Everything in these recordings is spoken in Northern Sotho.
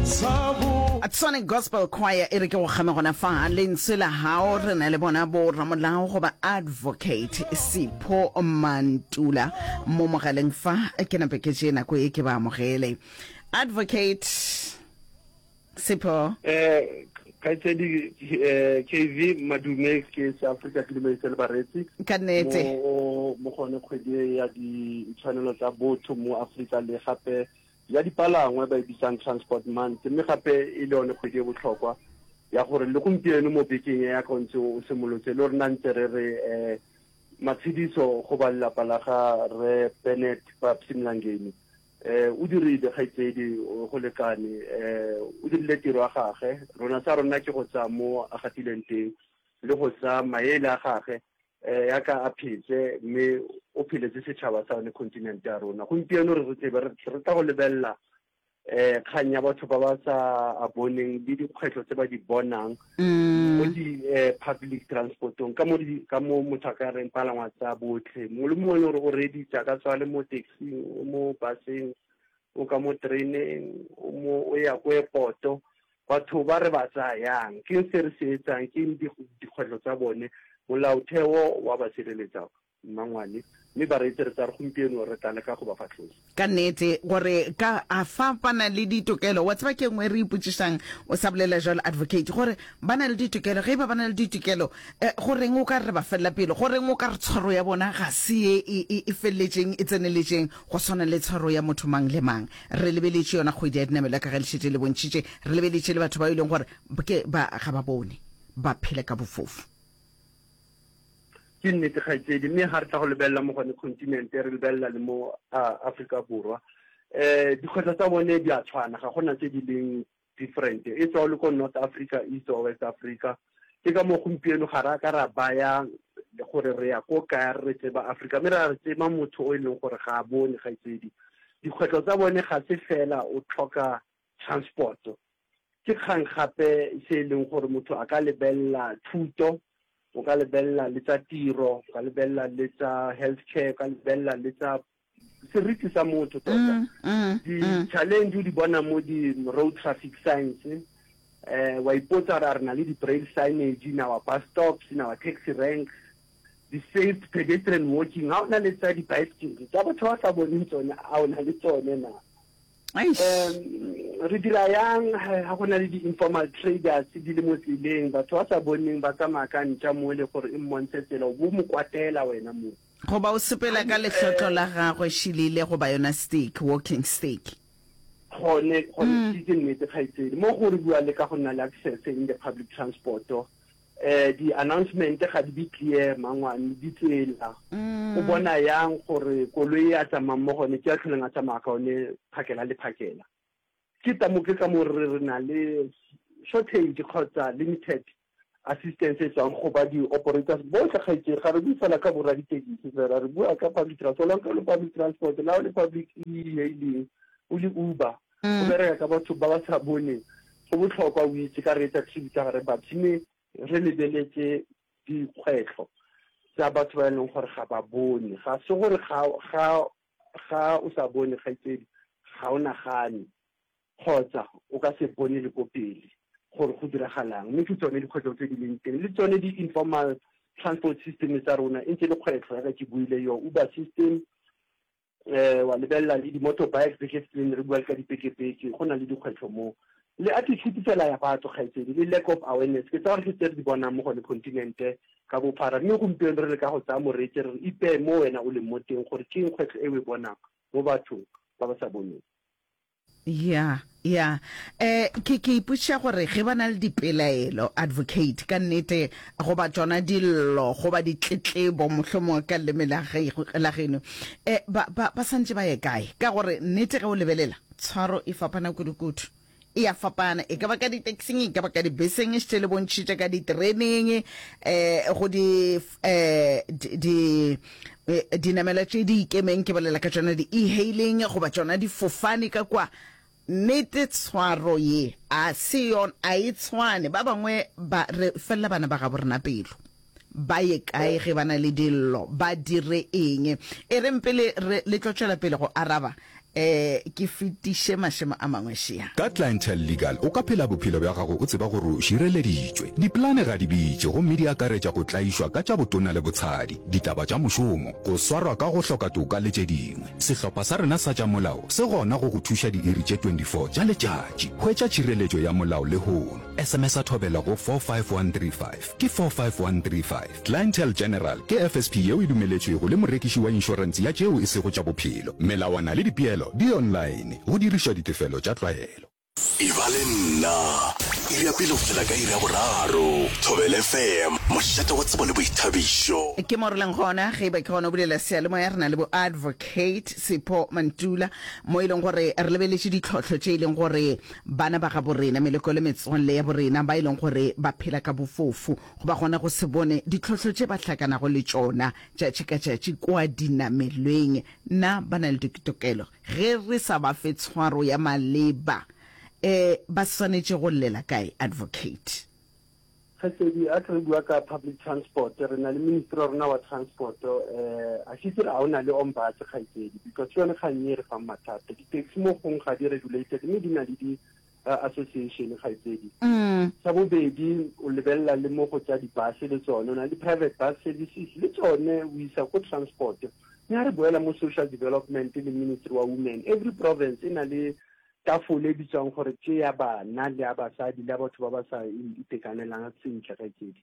Sonic Gospel Choir e re ke go kgame gona fa lentswe la hao re na le bona bo ramolao goba advocate Sipho Mantula mo mogaleng fa ke nape ke tše nako e ke ba amogele advocate Sipho Eh kgaitsedi eh, KV Madume ke se Afrika ke dumedise le bareetsi ka nnete mo mo gone kgwedi e ya ditshwanelo tsa botho mo Afrika le gape ya dipalangwa ba e bitsang transport month mme gape e le yone kgwedi e botlhokwa ya gore le gompieno mo bekeng ya ka ntse o simolotse le rona ntse re re um matshediso go ba lelapa la ga re Bennett Babsy Mlangeni eh o dirile kgaitsedi go lekane eh o dirile tiro ya gage rona sa rona ke go tsaya mo a gatileng teng le go tsaya maele a gage eh ya ka a phetse mme o pheletse setšhaba sa yone continent ya rona gompieno re re tsebe re tla go lebelela eh kgang ya batho ba ba sa a boneng le dikgwetlho tse ba di bonang mm. mo di eh, public transportong ka mo ka mo motho a ka reng palangwa tsa botlhe mongwe le mongwe gore o reditse ka tswa le mo taxing o mo buseng o ka mo tereneng o mo o ya ko airporto batho ba re ba tsaya yang ke se re se etsang ke dikgwetlho tsa bone molaotheo wa ba sireletsa mmangwane mme bareetsi re tsa re gompieno re tla leka go ba fatlhosa. Ka nnete gore ka a fa ba na le ditokelo wa tseba ke nngwe re ipotšišang o sa bolela jalo advocate gore ba na le ditokelo ge e ba ba na le ditokelo eh, go reng o ka re ba felela pele go reng o ka re tshwaro ya bona ga se ye e, e, e feleletšeng e tseneletšeng go swana le tshwaro ya motho mang le mang re lebeletše yona kgwedi ya dinamelo ka ge le šetše le bontšhitše re lebeletše le batho ba e leng gore ke ba ga ba bone ba phele ka bofofu Ke nnete kgaitsedi, mme ga re tla go lebelela mo gone continent re lebelela le mo Afrika Borwa um dikgwetlho tsa bone di a tshwana, ga gona tse di leng different e tswa o le ko North Africa, East or West Africa. Ke ka moo gompieno ga ra ka ra baya gore re ya ko kae re tseba Africa, mme ra re tseba motho o e leng gore ga a bone kgaitsedi. Dikgwetlho tsa bone ga se fela o tlhoka transport, Ke kgang gape se e leng gore motho a ka lebelela thuto, o ka lebelela le tsa tiro, o ka lebelela le tsa health care, o ka lebelela le tsa seriti sa motho tota. Mm, mm, mm. Di-challenge o di bona mo di-road traffic signs, eh wa ipotsa gore a re na le di-braille signage in our bus stops, in our taxi ranks, di-safe pedestrian walking, ga o na le tsa di-bicycle, tsa batho ba sa boneng tsone, a o na le tsone na? Um re dira yang ga go na le di-informal traders di le mo tseleng batho ba sa boneng ba tsamaya ka ntša mo le gore e mmontshe tsela o bo mo kwatela wena mo goba o sepela ka lehlotlo la gagwe šilile goba yona stick walking stick gone gone mm. ke nnete kgaitsedi mo go re bua le ka go nna le access in the public transport eh di announcement ga di be clear mangwane ditsela mm. o bona yang gore koloi e a tsamayng mo gone ke a tlholeng a tsamaya ka one phakela le phakela ke tamo ke ka mo re re na le shortage kgotsa limited assistance e tswang go ba di-operators botlhe kgaitseng ga re bue fela ka borra ditekisi fela re bua ka public transport la le public transport la o le public e-hailing o le uber o mm. bereka ka batho ba ba sa boneng go botlhokwa o itse ka re etsa tribute tsa gare batho mme re lebeletse dikgwetlho tsa batho ba e leng gore ga ba bone ga se gore ga ga ga o sa bone kgaitsedi ga o nagane kgotsa o ka se bone le ko pele gore go diragalang mme ke tsone dikgwetlho tse di leng teng le tsone di-informal transport system tsa rona e ntse le kgwetlho yaka ke buile yo uber system eh wa lebelela le di-motorbike tse ke re bua ka dipekepeke go na le dikgwetlho mo le attitude fela ya batho kgaitsedi le lack of awareness ke tsa gore ke tse re di bonang mo gone continente ka bophara mme gompieno re le ka go tsaya moreetsi re re ipeye mo wena o leng mo teng gore ke eng kgwetlho e o e bonang mo bathong ba ba sa boneng Ya, ya. Eh, ke, ke ipotšiša gore ge ba na le dipelaelo, advocate, ka nnete, goba tšona dillo, goba ditletlebo, mohlomongwe ka leleme la ge, la geno, eh, ba, ba, ba santše ba ye kae? Ka gore nnete ge o lebelela, tshwaro e fapana kudu-kudu. E a fapana, e ka ba ka di-taxing, e ka ba ka dibeseng, šetše le bontšhitše ka ditereneng, eh, go di, eh, di, di eh, dinamela tše di ikemeng, ke bolela ka tšona di-e-hailing goba tšona difofane ka kwa. Nnete tshwaro ye a se yona, a e tshwane. Ba bangwe ba re felela bana ba gabo rena pelo. Ba ye kae ge ba na le dillo? Ba dire eng? E reng pele re le tlo tšwela pele go araba. Eh, ke fetiše mašemo a mangwe šea. Ka Clientele Legal o ka phela bophelo bja gago o tseba gore o šireleditšwe. Dipolane ga di bitše gomme di akaretša go tlaišwa ka tša botona le botshadi, ditaba tša mošomo, go swarwa ka go hloka toka le tše dingwe. Sehlopha sa rena sa tša molao se gona go go thuša diiri tše 24 tša letšatši. Hwetša tšhireletšo ya molao lehono. SMS-a Thobela go 45135. Ke 45135. Clientele General ke FSP yeo e dumeletšwego le morekiši wa inšorense ya tšeo e sego tša bophelo. Melawana le dipeelo di online, go dirišwa ditefelo tša tlwaelo. Eba le nna, iri ya pele go fihlela ka iri ya boraro. Thobela FM, mošate wa tsebo le boithabišo. Ke mo re leng gona, ge e ba ke gona o bulela seyalemoya, re na le bo Advocate Sipho Mantula, mo e leng gore re lebeletše ditlhohlo tše e leng gore bana ba gabo rena, meloko le metswalle ya borena ba e leng gore ba phela ka bofofu, Goba gona go se bone ditlhohlo tše ba hlakanago le tšona tšatši ka tšatši kua dinamelweng. Na ba na le ditokelo? Ge re sa ba fe tshwaro ya maleba, e, ba swanetše go llela kae, Advocate? Kgaitsedi, a ke re bua ka public transport, re na le ministry wa rona wa transport, eh, a ke itse a o na le ombuds kgaitsedi, because ke yone kgang e re fang mathata. Di-taxi mo gong ga di regulated mme di na le di association kgaitsedi. Sa bobedi, o lebelela le mo go tša di-bus le tsone, o na le di-private bus services le tsone o isa ko transport. Mme ha re boela mo social development le ministry wa women, every province e na le tafole e bitswang gore ke ya bana le ya basadi le ya batho ba ba sa itekanelang sentle kgaitsedi.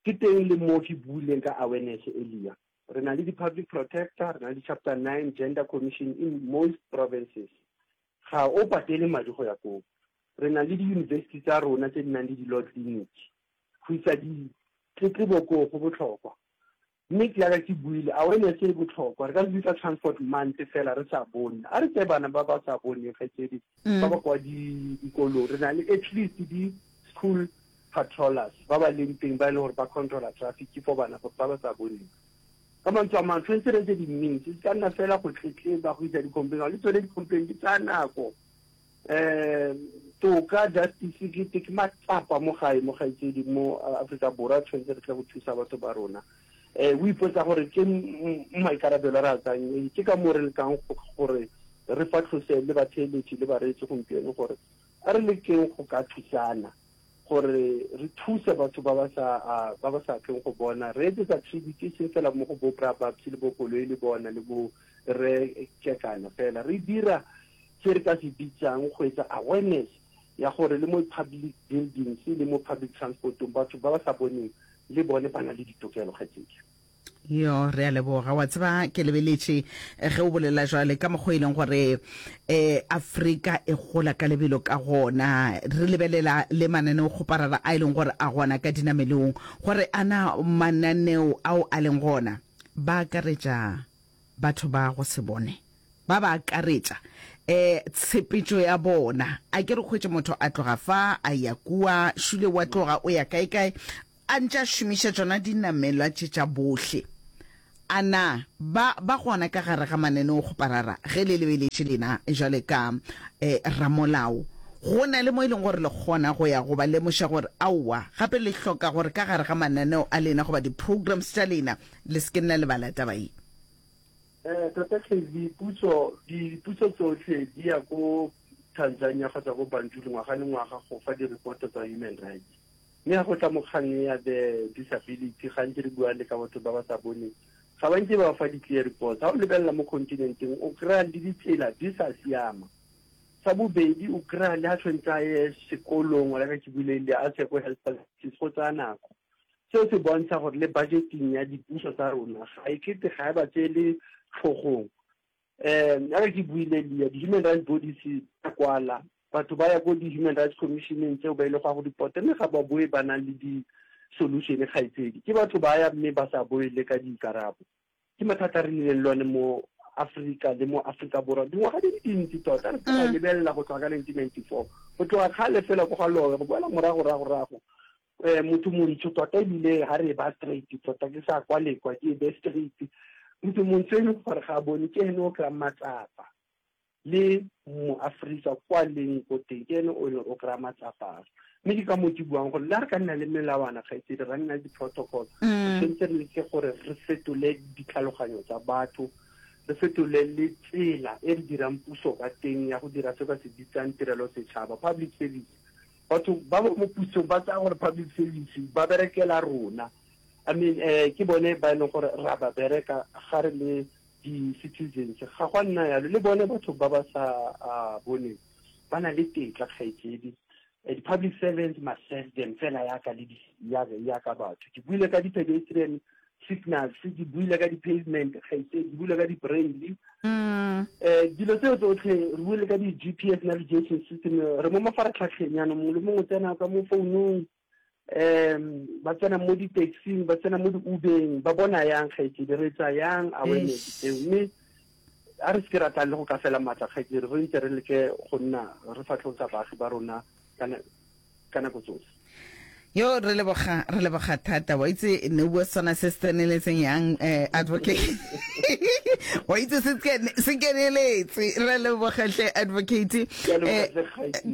Ke teng le mo ke buileng ka awareness earlier. Re na le di-public protector, re na le di-chapter 9 gender commission in most provinces. Ga o patele madi go ya koo. Re na le diyunibesithi tsa rona tse di nang le di-law clinic. Go isa ditletlebo koo go botlhokwa. Mme jaaka ke buile, awareness e botlhokwa. Re ka se bitsa transport month fela re sa bone. A re tseye bana ba ba sa boneng, kgaitsedi, ba ba kwa dikolong. Re na le at least di-school patrollers ba ba leng teng ba e leng gore ba controla traffic for bana ba ba sa boneng. Ka mantswe a mangwe, tshwanetse re etse di-means, e se ka nna fela go tletleba, go isa di-complaint. Le tsone di-complaint di tsaya nako. Um toka, justice ke ke matsapa mo gae, mo kgaitsedi, mo Aforika Borwa, tshwanetse re tle go thusa batho ba rona. Um o ipotsa gore ke maikarabelo a re a tsayang, ke ka moo re lekang gore re fatlhose le batheeletši le bareetsi gompieno gore a re lekeng go ka thusana. Gore re thuse batho ba ba sa, ba ba sa tleng go bona. Re etsetsa tribute e seng fela mo go bo Bra Babsy le bo Koloi le bona le bo Rre Kekana fela. Re dira se re ka se bitsang go etsa awareness ya gore le mo public buildings le mo public transport-ong batho ba ba sa boneng le bone ba na le ditokelo, kgaitsedi. Yo, re a leboga. Wa tseba, ke lebeletše eh, ge o bolela jwale ka mokgwa e leng gore eh, Afrika e gola ka lebelo ka gona. Re lebelela le mananeokgoparara a e leng gore a gona ka dinamelong, gore ana mananeo ao a leng gona ba akaretša batho ba go se bone, ba ba akaretša eh tshepetšo ya bona. A ke re hwetše motho a tloga fa a ya kua, šule wa tloga o ya kae kae, A ntše a šomiša tšona dinamelwa tše tša bohle. A na ba ba gona ka gare ga mananeokgoparara ge le lebeletše lena jwale ka eh, ramolao? Go na le mo e leng gore le kgona go ya go ba lemoša gore aowa, gape le hloka gore ka gare ga mananeo a lena goba di-programs tša lena le se ke nna lebala taba ye. Eh, tota KV, puso, dipuso tsotlhe di ya ko Tanzania kgotsa ko Banjul ngwaga le ngwaga go fa di-reporto tsa human rights. Mme ga go tla mo kgang ya the disability, gantsi re bua le ka batho ba ba sa boneng, ga ba nke ba fa di-clear reports. Ga o lebelela mo continenteng, o kry-a le ditsela di sa siama. Sa bobedi, o kry-a le ha tshwanetse a ye sekolong, like ke buile le a se ko health facilities, go tsaya nako. Seo se bontsha gore le budgeting ya dipuso tsa rona ga e kete ga e ba tseele tlhogong. Um yaka ke buile lia, di-human rights bodies tsa kwala, batho ba ya ko di-human rights commissioneng tseo ba ile go ya go reporta, mme ga ba boe ba na le di-solution kgaitsedi. Ke batho ba ya mme ba sa boe le ka dikarabo. Ke mathata a re nnileng le one mo Afrika le mo Afrika Borwa dingwaga di le dintsi tota. Re ka lebelela go tloga ka 1994, go tloga kgale fela ko ga Lowe, go boela morago rago rago. Eh, motho montsho tota ebile ga re ba straight tota ke sa kwa lekwa ke be straight motho montsho e leng gore ga a bone ke ene o kry-ang matsapa le moaforika kwa leng ko teng ke ene o leng o kry-a matsapa mme ke ka moo ke buang gore le ga re ka nna le melawana kgaitsedi ra nna le di-protocol re tshwanetse re leke gore re fetole ditlhaloganyo tsa batho. Re fetole le tsela e re dirang puso ka teng ya go dira se ba se bitsang tirelo setšhaba, public service. Batho ba ba mo pusong ba tsaya gore public service ba berekela rona. I mean eh ke bone ba e leng gore ra ba bereka ga re le di-citizens. Ga gwa nna yalo, le bone batho ba ba sa boneng ba na le tetla kgaitsedi. Di-public servants must serve them fela yaka le yaka batho. Ke buile ka di-pedestrian signals, ke buile ka di-pavement kgaitsedi, ke buile ka di-braille. Um dilo tseo tsotlhe re buile ka di-G_P_S navigation system, re mo mafaratlhatlheng jaanong mongwe le mongwe o tsena ka mo founung um ba tsena mo di-taxing, ba tsena mo di-Uber-eng, ba bona yang kgaitsedi, re etsa yang awareness tseo mme a re seke ra tla le go ka fela maatla kgaitsedi, re ntse re leke go nna re fatlhosa baagi ba rona ka nako tsotlhe. Yo re leboga re leboga thata wa itse ne bua sona se se tseneletseng yang eh, advocate wa itse se se keneletse re leboga hle advocate eh,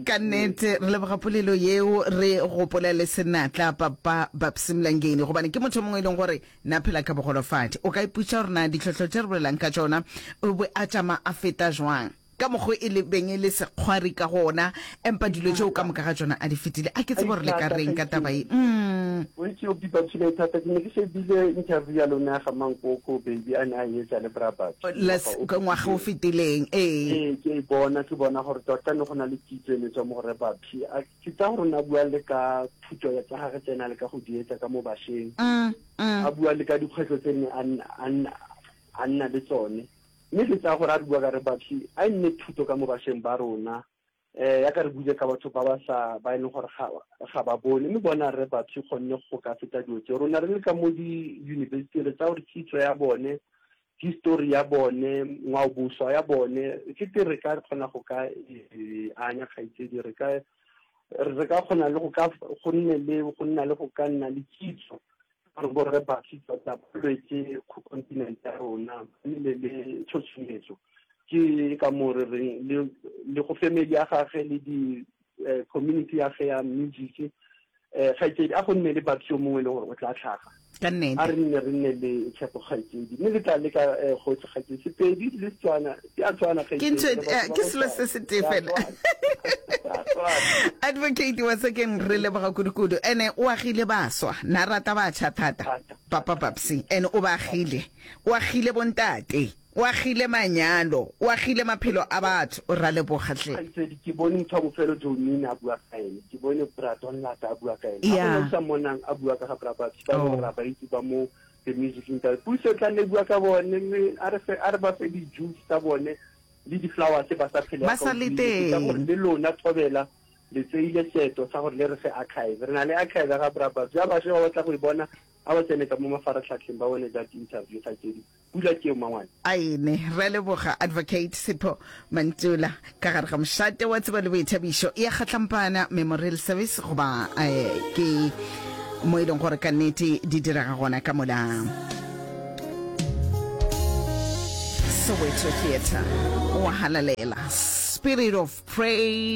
ka nnete re leboga polelo yeo re gopola le senatla papa Babsy Mlangeni gobane ke motho mongwe e leng gore na phela ka bogolofadi o ka iputša gore na ditlhohlo tše re bolelang ka tšona o be a tšama a feta jwang Ka mokgo e le beng e le sekgwari ka gona, empa dilo tšeo ka moka ga tšona a di fetile. A ke tsebe gore le ka reng ka taba ye. Umm. O itse o bipa tshilo e thata. Ke ne ke shebile interview ya lona ya ga Mankoko baby a ne a e etsa le Bra Babs ngwaga o Ngwaga o fetileng. Ee. Ee, ke e bona, ke bona gore tota ne go na le kitso e ne tswa mo go Rre Babs. A ke tsaya gore o ne a bua le ka thuto ya tsa gagwe tse ne a leka go di etsa ka mo bašweng. A bua le ka dikgwetlho tse ne a a nna le tsone. Mme ke tsaya gore a re bua ka re Babsy, a e nne thuto ka mo bašweng ba rona. Um yaka re buile ka batho ba ba sa, ba e leng gore ga, ga ba bone. Mme bona Rre Babsy kgonne go ka feta dilo tseo. Rona re le ka mo di-university re tsaya gore kitso ya bone, history ya bone, ngwaoboswa ya bone, ke te re ka kgona go ka e anya kgaitsedi, re ka, re ka kgona le go ka, go nne le, go nna le go ka nna le kitso Gore borre ba tota ba lwetse kontinente ya rona, ba nnile le tshotshometso. Ke ka moo re reng le, le go family ya gage le di eh, community ya ge ya music eh, kgaitsedi a go nne le batho yo mongwe e le gore o tla tlhaga. Ka nnete. A re nne re nne le tshepo kgaitsedi. Mme le tla leka eh, gotlhe kgaitsedi. Sepedi le Setswana di a tshwana Ke ntho kgaitsedi. Eh, ke selo se se tee fela. Advocate wa Sekeng re leboga kudu-kudu. Ene o agile baswa, na rata batjha thata. Papa Babsy, ene o ba agile. O agile bontate, o agile manyalo, o agile maphelo a batho. Ra leboga hle. Kgaitsedi, ke bone motho wa bofelo Joe Nina a bua ka ene. Ke bone Bra Don Lata a bua ka ene. Ga gona o sa mmonang a bua ka ga Bra Babsy, ba e leng gore ra ba itse ba mo the music industry. Puso e tla nne e bua ka bone, mme a re fe, a re ba fe di-juice tsa bone le di-flowers ba sa phele Ba sa le teng. Ka gore le lona Thobela le tseile seeto sa gore le re fe archive. Re na le archive ya ga Bra Babsy. Ba bašwa ba batla go e bona, a ba tsene ka mo mafaratlhatlheng ba bone that interview kgaitsedi. Pula ke eo mangwane. Aene, re a leboga Advocate Sipho Mantula ka gare ga mošate wa tsebo le boithabišo ya Kgatlampana Memorial Service goba eh, ke mo e leng gore ka nnete di direga gona ka mola Soweto Theatre wa halalela Spirit of Praise.